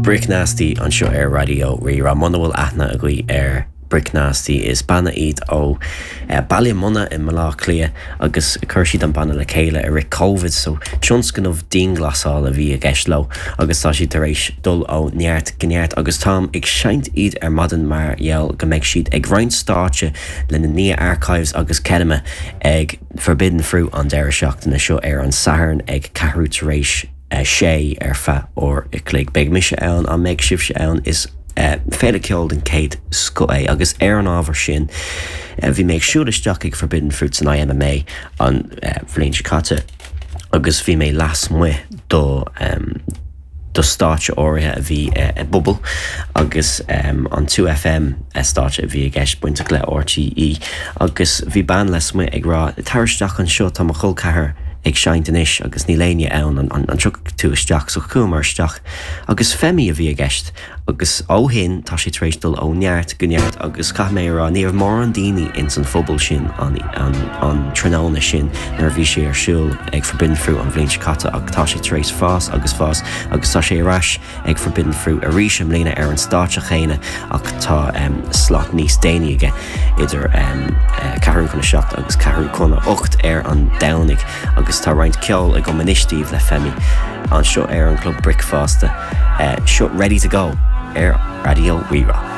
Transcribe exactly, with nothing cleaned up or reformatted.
Brick Nasty anseo ar Raidió Rí-Rá muna bhfuil aithne agaibh ar Brick Nasty is banna iad ó eh, Baile Munna i mBaile Átha Cliath agus chuir siad an banna le chéile i rith COVID so tionscnamh dianghlasála a bhí i gceist leo agus tá siad tar éis dul ó neart go neart agus táim ag seinnt iad ar maidin mar gheall go mbeidh siad ag roinnt stáitse le na Nia Archives agus Kedema ag Forbidden Fruit an deireadh seachtaine seo ar an Satharn ag ceathrú tar éis sé ar feadh uair a chloig. Beidh mise ann an mbeidh sibhse ann is uh, féile ceoil den chéad scoth é agus ar an ábhar sin uh, bhí mé ag siúl isteach ag Forbidden Fruit san IMMA an uh, bhliain seo caite agus bhí mé lasmuigh do um, do stáitse áirithe a bhí uh, i bpuball agus um, an two FM stáitse a bhí i gceist bainteach le RTÉ agus bhí bean lasmuigh ag rá tar isteach anseo tá mo chol ceathar ag seinnt anois agus níl éinne ann an, an, an dtiocfaidh tú isteach so chuamar isteach agus Femi a bhí i gceist agus ó shin tá sé tar éis dul ó neart go neart agus caithfidh mé rá ní raibh mórán daoine ins an phuball sin an, an, an tráthnóna sin nuair a bhí sé ar siúl ag Forbidden Fruit an bhliain seo caite ach tá sé tar éis fás agus fás agus tá sé ar ais ag Forbidden Fruit arís i mbliana ar an stáitse chéanna ach tá um, slot níos déanaí aige idir um, uh, ceathrú chun a seacht agus ceathrú chun a hocht ar an Domhnach agus tá roinnt ceoil agam anois daoibh le Femi anseo ar an Club Bricfeasta uh, seo ready to go ar Raidió Rí-Rá.